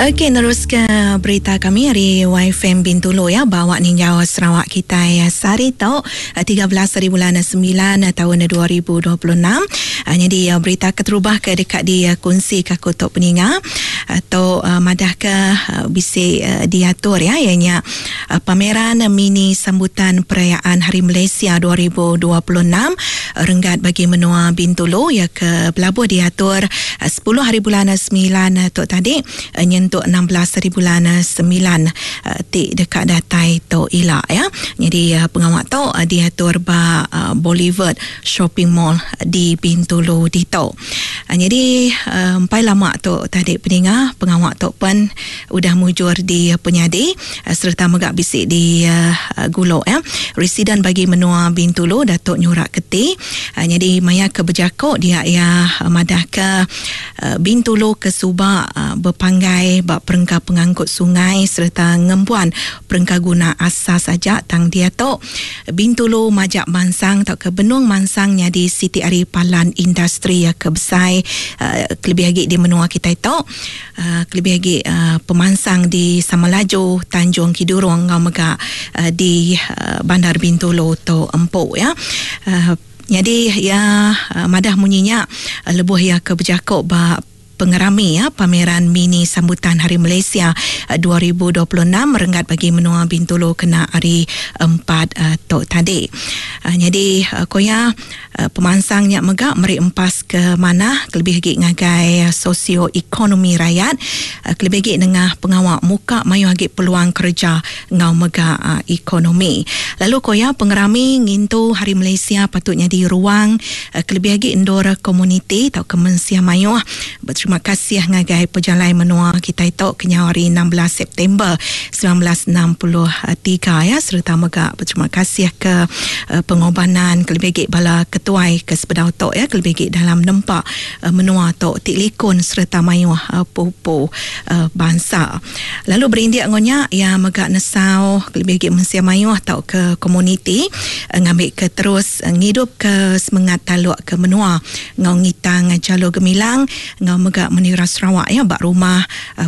Okey neruska berita kami ari YFM Bintulu ya bawa ninjau Sarawak kitai sehari tu 13 hari bulan 9 taun 2026. Nyadi berita keterubah ke deka dikunsi ka aku tu peninga tu madahka bisi diatur ya iya nya Pameran Mini Sambutan Perayaan Hari Malaysia 2026 renggat bagi menua Bintulu iya ke belabuh diatur 10 haribulan semilan tu tadi nyentuk 16 haribulan semilan ti deka datai tu ila ya. Nyadi pengawa tu diatur ba Boulevard Shopping Mall di Bintulu ditu. Nyadi empai lama tu tadi peninga pengawa tu pen udah mujur di penyadi sereta mega bisi di gulu ya. Residen bagi menua Bintulu Datuk Nyurak Keti nyadi maya ke bejaku dia iya madahka Bintulu ke suba bepanggai ba perengka pengangkut sungai sereta ngembuan perengka guna asas aja tang diatu Bintulu majak mansang tauka benung mansang nyadi siti ari palan industri ke besai kelebih agi di menua kitai tu. Kelebih agi pemansang di Samalaju, Tanjung Kidurong enggau mega di Bandar Bintulu tu empu ya. Nyadi iya madah munyi nya lebuh iya ke bejaku ba pengerami pameran mini sambutan Hari Malaysia 2026 renggat bagi menua Bintulu kena hari Empat tu tadi. Nyadi ku iya Pemansang nya mega meri empas ke manah kelebih agi ngagai sosio-ekonomi rayat kelebih agi nengah pengawa muka mayuh agi peluang kereja enggau mega ekonomi. Lalu ku iya, pengerami ngintu Hari Malaysia patut nyadi ruang kelebih agi endur komuniti tauka mensia mayuh beterima kasih ngagai pejalai menua kitai tu kenyau ari 16 September 1963 ya sereta mega beterima kasih ke pengobanan kelebih agi bala ketuai ke sebedau tu ya kelebih agi dalam nempa menua tu ti likun sereta mayuh pupu bansa. Lalu berindik enggau nya iya mega nesau kelebih agi mensia mayuh tauka komuniti ngambika terus ngidupka semengat taluk ke menua enggau ngitang Jalur Gemilang enggau mega menira Sarawak ya ba rumah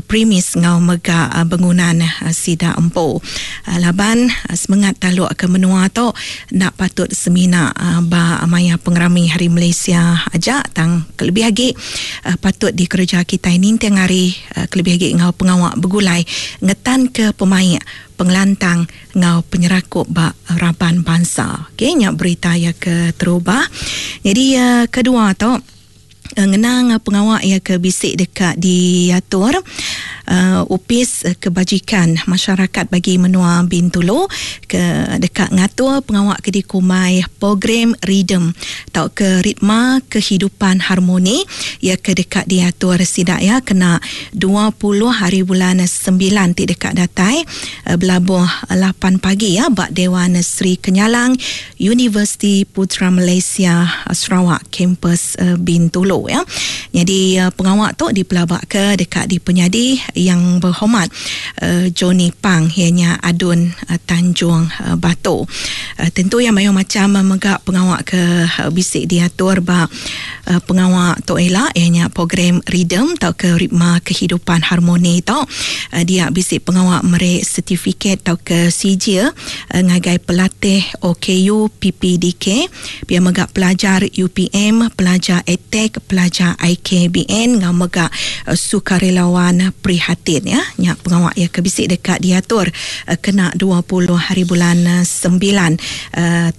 premis enggau mega bengunan sida empu. Laban semengat taluk ke menua tu enda patut semina ba maya pengerami Hari Malaysia aja tang kelebih agi patut dikereja kitai ninting hari kelebih agi enggau pengawa begulai ngetanka pemaik, pengelantang enggau penyerakup ba raban bansa. Okey nya berita iya ke terubah. Nyadi kedua tu ngenang pengawa iya ke bisi deka diatur Opis Kebajikan Masyarakat bagi menua Bintulu ke deka ngatur pengawa ke dikumbai Program Rhythm tauka Ritma Kehidupan Harmoni iya ke deka diatur sida iya kena 20 hari bulan semilan ti deka datai belabuh lapan pagi iya ba Dewan Sri Kenyalang Universiti Putra Malaysia Sarawak Kampus Bintulu ya. Nyadi pengawa tu dipelabaka deka dipenyadi Yang Berhormat Johnny Pang iya nya Adun Tanjung Batu. Tentu iya mayuh macham mega pengawa ke bisi diatur ba pengawa tu ila iya nya program Rhythm tauka Ritma Kehidupan Harmoni tu dia bisi pengawa meri setifiket tauka sijil ngagai pelatih OKU PPDK pia mega pelajar UPM, pelajar ATEC, pelajar IKBN enggau mega sukarelawan prihatin ya. Nya pengawa iya ke bisi deka diatur kena 20 hari bulan sembilan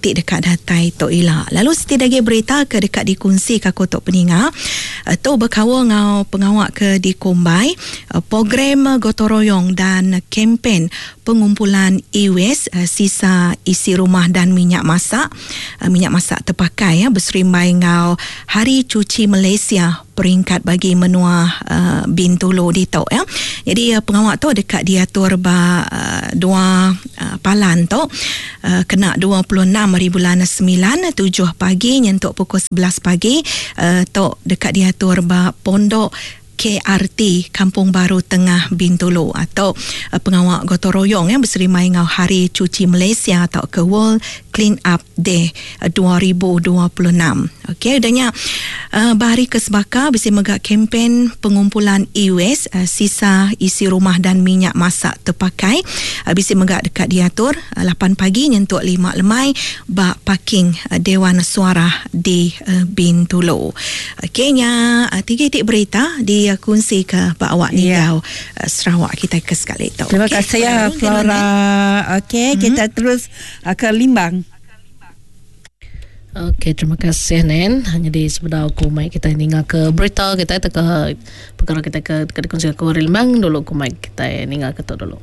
ti deka datai tu ila. Lalu siti agi berita ke deka dikunsika aku tu peninga tu bekaul enggau pengawa ke dikumbai Program Gotong Royong dan Kempen Pengumpulan E-Waste, Sisa Isi Rumah dan Minyak Masak, Minyak Masak Terpakai beserimbai enggau Hari Cuci Malaysia peringkat bagi menua Bintulu ditu. Jadi pengawa tu deka diatur ba dua palan tu kena 26 hari bulan semilan tujuh pagi nyentuk pukul 11 pagi tu deka diatur ba Pondok KRT Kampung Baru Tengah Bintulu atau pengawa gotong royong ya beserimai enggau Hari Cuci Malaysia tauka World Clean Up Day 2026. Okey, udah nya ba hari ke sebaka bisi mega kempen pengumpulan e-waste, sisa isi rumah dan minyak masak terpakai bisi mega deka diatur 8 pagi nyentuk 5 lemai ba parking Dewan Suarah di Bintulu. Okey, nya tiga iti berita dikunsika ba awak ninggau Sarawak kitai ke sekali tu. Terima kasih ya Flora. Okey, kita terus ke Limbang. Okey, terima kasih Nen. Jadi sebedau aku mai kita ninga ke berita kita ke perkara kita ke ke dikongsi aku hari Limbang dulu aku mai kita ninga ke tu dulu.